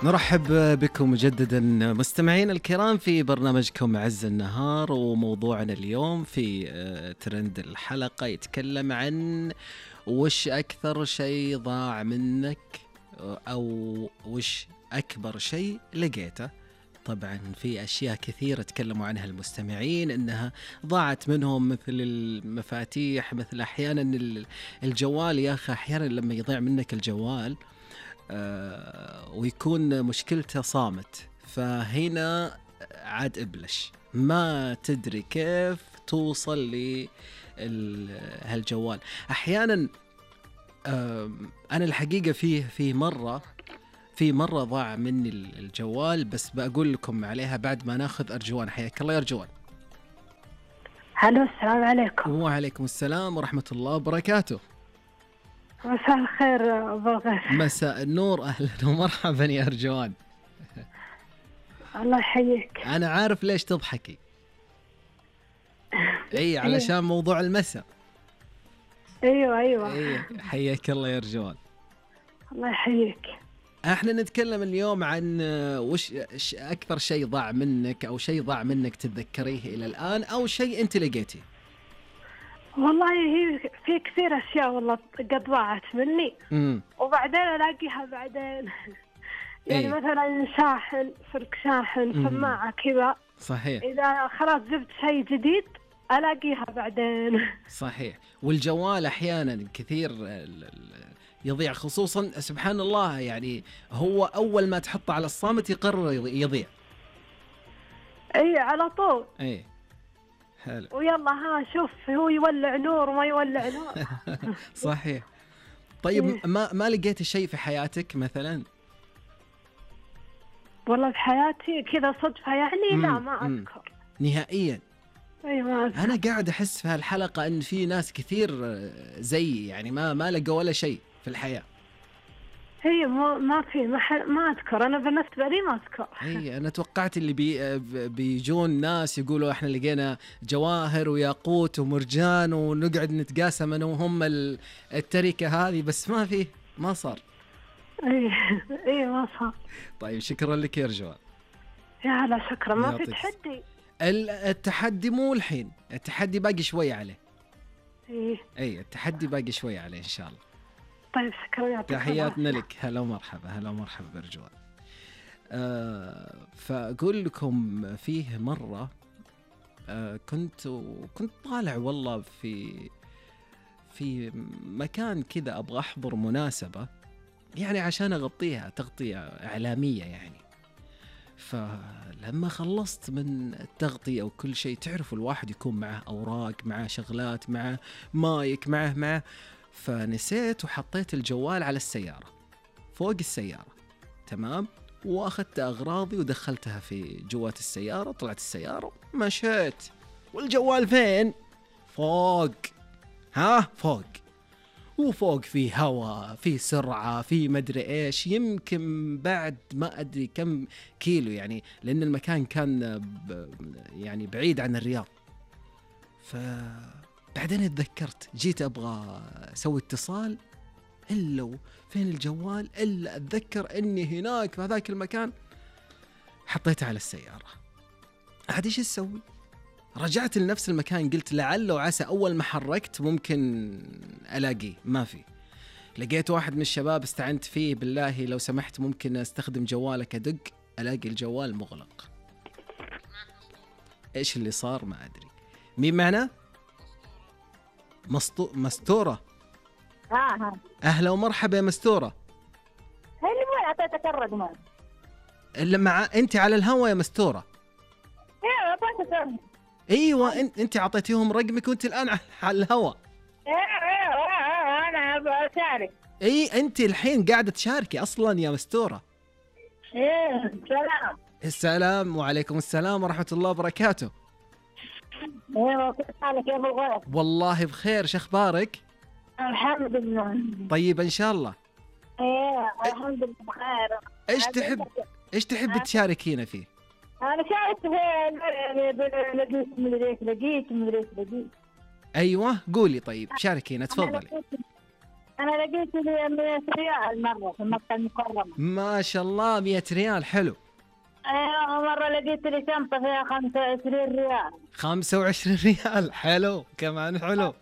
نرحب بكم مجددا مستمعين الكرام في برنامجكم عز النهار، وموضوعنا اليوم في ترند الحلقة يتكلم عن وش أكثر شيء ضاع منك أو وش أكبر شيء لقيته. طبعا في أشياء كثيرة تكلموا عنها المستمعين إنها ضاعت منهم، مثل المفاتيح، مثل أحيانا الجوال. يا أخي أحيانا لما يضيع منك الجوال ويكون مشكلته صامت، فهنا عاد إبلش ما تدري كيف توصل لهالجوال. أحيانا أنا الحقيقة في مرة ضاع مني الجوال، بس بقول لكم عليها بعد ما ناخذ أرجوان. حياك الله يا أرجوان. هلو، السلام عليكم. وعليكم السلام ورحمة الله وبركاته. مساء الخير أبو الغيث. مساء النور، أهلا ومرحبا يا أرجوان. الله يحييك. أنا عارف ليش تضحكي. أي علشان موضوع المساء. أيوة. حياك الله يا أرجوان. الله يحييك. احنا نتكلم اليوم عن وش أكثر شيء ضاع منك، أو شيء ضاع منك تتذكريه إلى الآن، أو شيء أنت لقيتيه. والله هي في كثير أشياء والله قد ضاعت مني. وبعدين ألاقيها بعدين. يعني مثلا شاحن، سلك شاحن، سماعة كذا. صحيح. إذا خلاص جبت شيء جديد ألاقيها بعدين. صحيح. والجوال أحيانا كثير يضيع، خصوصا سبحان الله، يعني هو أول ما تحطه على الصامت يقرر يضيع. أي على طول. أي حلو. ويلا ها شوف، هو يولع نور وما يولع نور. صحيح. طيب ما لقيت شيء في حياتك مثلا؟ والله في حياتي كذا صدفة يعني. لا ما أذكر نهائيا. أيوة. أنا قاعد أحس في هالحلقة إن في ناس كثير زي يعني ما لقوا ولا شيء في الحياة. هي ما في ما أذكر. أنا بالنسبة لي ما أذكر. هي أنا توقعت اللي بيجون ناس يقولوا إحنا لقينا جواهر وياقوت ومرجان ونقعد نتقاسم أنا وهم التركة هذه، بس ما صار. إيه ما صار. طيب شكرا لك يا رجوان. يا هلا شكرا. ما في تحدي. التحدي مو الحين، التحدي باقي شوي عليه. إيه التحدي باقي شوي عليه إن شاء الله. طيب شكرا. تحياتنا لك. هلا ومرحبا. هلا ومرحبا برجوان. فأقول لكم فيه مرة كنت طالع والله في مكان كذا، أبغى أحضر مناسبة يعني عشان أغطيها تغطية إعلامية يعني. فلما خلصت من التغطية وكل شيء، تعرفوا الواحد يكون معه أوراق، معه شغلات، معه مايك، معه فنسيت وحطيت الجوال على السيارة، فوق السيارة. تمام. وأخذت أغراضي ودخلتها في جوات السيارة، طلعت السيارة مشيت، والجوال فين؟ فوق. فوق. وفوق في هواء، في سرعة، في مدري إيش، يمكن بعد ما أدري كم كيلو يعني، لأن المكان كان يعني بعيد عن الرياض. فبعدين اتذكرت، جيت أبغى أسوي اتصال، إلا فين الجوال؟ إلا أتذكر أني هناك في هذاك المكان حطيته على السيارة. عاد إيش أسوي؟ رجعت لنفس المكان، قلت لعل وعسى أول ما حركت ممكن ألاقيه. ما في. لقيت واحد من الشباب استعنت فيه، بالله لو سمحت ممكن أستخدم جوالك أدق، ألاقي الجوال مغلق. إيش اللي صار ما أدري. مين معنا؟ مستورة. أهلا ومرحبا يا مستورة. اللي مو أعطيتك الرقم اللي مع أنت على الهوا يا مستورة. ايوه انت اعطيتيهم رقمك وانت الان على الهواء. انا بشارك. انت الحين قاعده تشاركي اصلا يا مستوره. سلام. السلام وعليكم السلام ورحمه الله وبركاته. كيف حالك يا ابو الغيث؟ والله بخير، شو اخبارك؟ الحمد لله. طيب ان شاء الله. الحمد لله بخير. ايش تحب تشاركينا فيه؟ أنا شاهدت لقيت. أيوة قولي. طيب شاركينا تفضلي. أنا لقيت لي 100 ريال مرة في مكة المكرمة. ما شاء الله 100 ريال حلو. أيوة مرة لقيت لي شنطة فيها 25 ريال. 25 ريال حلو كمان حلو.